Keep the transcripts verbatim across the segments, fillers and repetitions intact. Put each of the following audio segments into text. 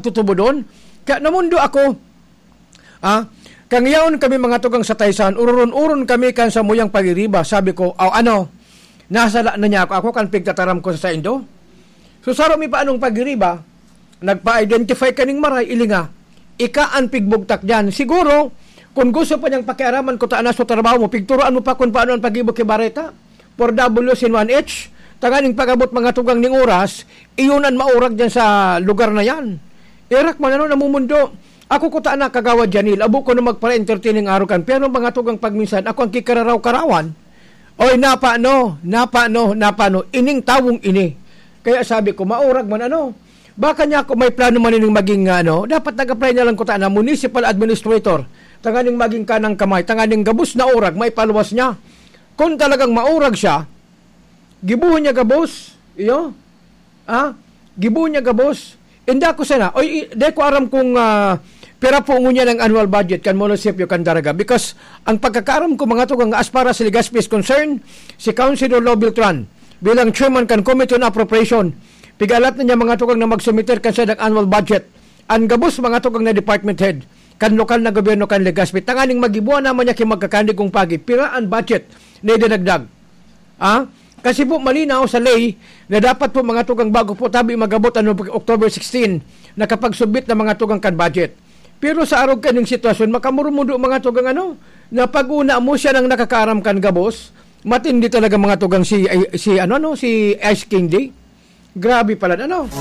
tutubodon. Kaya namundo ako, ah, kang yaon kami mga tugang sa Taysan, ururon-uron kami kan samuyang pagiriba. Sabi ko, "Aw, ano, nasala na niya ako, ako kan pigtataram ko sa saindo?" So, saro mi pa anong pagiriba, nagpa-identify kaning maray, ilinga. Ika an pigbugtak diyan. Siguro, kung gusto pa niyang pakiaraman ko ta na sa trabaho mo, pigturuan mo pa kung paano ang pag-ibo ki bareta. Four W's in one H, tanganing pag-abot mga tugang ning oras, iyon an maurag diyan sa lugar na yan. Erak man ano, namumundo. Ako ko ta na, Kagawad Janil, abo ko na magpara-entertaining araw kan, pero mga tugang pagminsan, ako ang kikararaw-karawan. Oy, napano, napano, napano, ining tawong ini. Kaya sabi ko, maurag man ano, baka niya ako may plano man ining maging, ano, dapat nag-apply na lang ko ta na municipal administrator, tanganing maging kanang kamay, tanganing gabos na urag, maipaluwas niya. Kung talagang maurag siya, gibuhon niya gabos, iyo, ah, gibuhon niya gabos. Inda ko sana, oy, i-, di ko aram kung, ah, pira po ngunyan ang annual budget kan munisipyo kan Daraga. Because ang pagkakaaram ko, mga tugang, as far as Legazpi is concerned, si Councilor Lou Beltran, bilang chairman kan Committee on Appropriation, pig-alat na niya, mga tugang, na magsumiter kan sadang annual budget. Ang gabos, mga tugang, na department head, kan lokal na gobyerno kan Legazpi, tanganing magibuan naman niya ki magkakanigong pagi. Pira ang budget na idinagdag? Ah? Kasi po malinaw sa ley na dapat po mga tugang bago po tabi magabot ano, October sixteen, nakapagsubmit na mga tugang kan budget. Pero sa arog kaning sitwasyon, makamurumudo mga tugang ano, na pag-una mo siya nang nakakaaram kan gabos, matindi talaga mga tugang si, ay, si ano, ano, si Ice King J. Grabe pala, ano?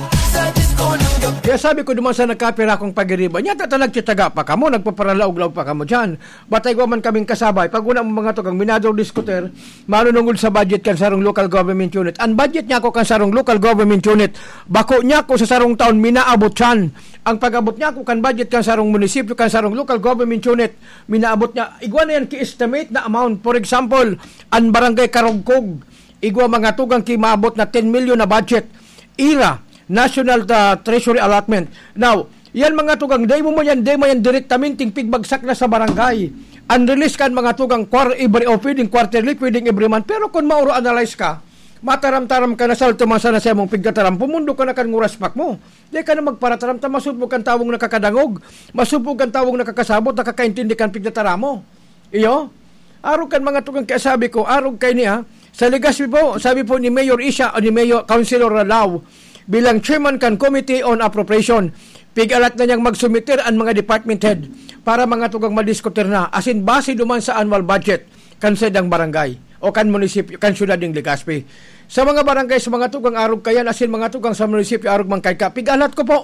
Kaya sabi ko duman sa nagkapira akong pagiriba, niya tatalagtitaga pa kamo, nagpaparalaog-laog pa kamo dyan. Batay ko man kaming kasabay, pag una mo mga tugang minador diskuter, manunungod sa budget kan sarong local government unit. Ang budget niya ako kan sarong local government unit, bako niya ako sa sarong taon, minaabot siyan. Ang pag-abot niya ako kan budget kan sarong munisipyo, kan sarong local government unit, minaabot niya, igwa na yan ki-estimate na amount. For example, ang barangay Karugkog, igwa mga tugang ki maabot na ten million na budget. Ira, National, ah, Treasury Allotment. Now, yan mga tugang, dai mo man yan, dai mo yan direktamenteng pigbagsak na sa barangay. Ang release kan mga tugang, quar-, every, o pwedeng quarterly, pwedeng every month. Pero kung mauro analyze ka, mataram-taram ka na, salto man sana sa imong pigtataram, pumundo ka na kan nguraspak mo. Di ka na magparataram ta masubog kan tawong nakakadangog, masubog kan tawong nakakasabot, nakakaintindi kan pigtataram mo. Iyo? Arog kan mga tugang kaya sabi ko, arog kay niya, sa Legazpi po, sabi po ni Mayor Isha o ni Mayor Councilor Ralao, bilang chairman kan Committee on Appropriation, pig-alat na niyang magsumiter ang mga department head para mga tugang madiskutir na, asin base duman sa annual budget kan saindang barangay o kan munisipyo, kan syudad ning Legazpi. Sa mga barangay, sa mga tugang arog kayan, asin mga tugang sa munisipyo, arog man kay ka, pig-alat ko po,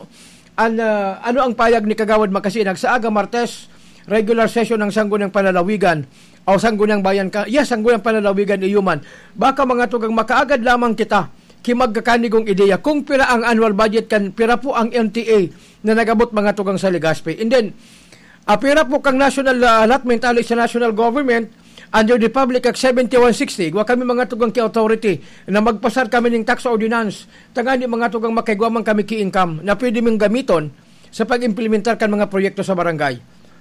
An, ah, ano ang payag ni Kagawad Makasinag sa aga Martes, regular session ng Sangguniang Panlalawigan o Sangguniang Bayan ka, yes, Sangguniang Panlalawigan, iyo man. Baka mga tugang makaagad lamang kita ki magkakanigong ideya kung pira ang annual budget kan pira po ang N T A na nagabot mga tugang sa Legazpi. And then, ah, pira po kang national, ah, allotment ali sa national government under the Public Act seventy-one sixty. Igwa kami mga tugang ki authority na magpasar kami ning tax ordinance. Tangani mga tugang makaigwa man kami ki income na pwede ming gamiton sa pag-implementar kan mga proyekto sa barangay.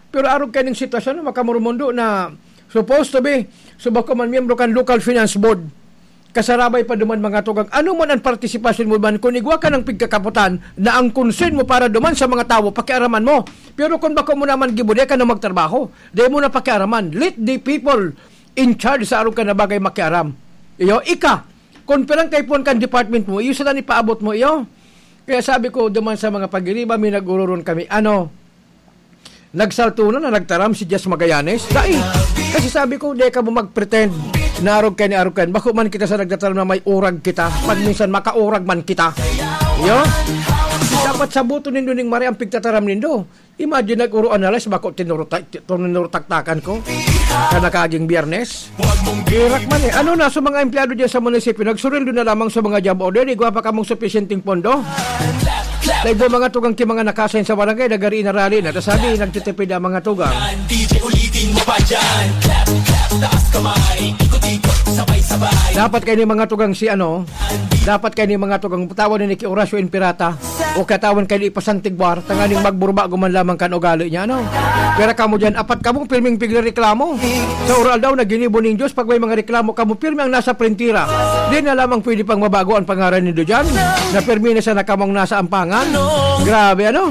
Pero arog kaning sitwasyon na makamurumundo na supposed to be, so bako man miyembro kan local finance board, kasarabay pa duman mga tugang, ano man ang partisipasyon mo man, kung igwa ka ng pigkakaputan na ang concern mo para duman sa mga tawo, pakiaraman mo. Pero kung bako mo naman gibo, di ka na magtrabaho, di mo na pakiaraman. Let the people in charge sa arog ka na bagay makiaram. Iyo, ika, kung pirang kaipuhan kan department mo, iyo sa ipaabot mo, iyo. Kaya sabi ko, duman sa mga pagiriba, may nag-ururon kami, ano, nagsalto na, na nagtaram si Jess Magallanes. Dai! Kasi sabi ko, di ka mo mag-pretend na arog kayan, arog kayan. Bako man kita sa nagtataram na may urag kita. Pag minsan, makaurag man kita. Iyo? Dapat sabuton nindo ning mare ang pigtataram nindo. Imagine, nag-uro-analyze, bako tinurutak-, tinurutaktakan ko. Ka nakaging Biyernes. Irak man eh. Ano na, sa mga empleyado dyan sa munisipyo, nagsurildo na lamang sa mga job order, igwa pa kamong supisyenteng pondo. Dahil mga tugang ki mga nakasign sa barangay, nagari na rally na. Tas sabi, nagtitipid ang mga tugang. D J, ulitin mo pa dyan. Clap, clap. Dapat kayo ni mga tugang si ano, dapat kayo ni mga tugang tawon ni Nicky Horacio Impirata o katawan kayo ni Ipasantigwar, tanganing magburbago man lamang kan ugali niya, ano? Pero kamo dyan, apat kamo, pirming pigrereklamo. Sa oral daw na ginibo ning Diyos, pag may mga reklamo kamo, pirmi ang nasa printira. Di na lamang pwede pang mabago ang pangaran nindo dyan, na pirmi na sana kamong nasa ampangan. Grabe, ano?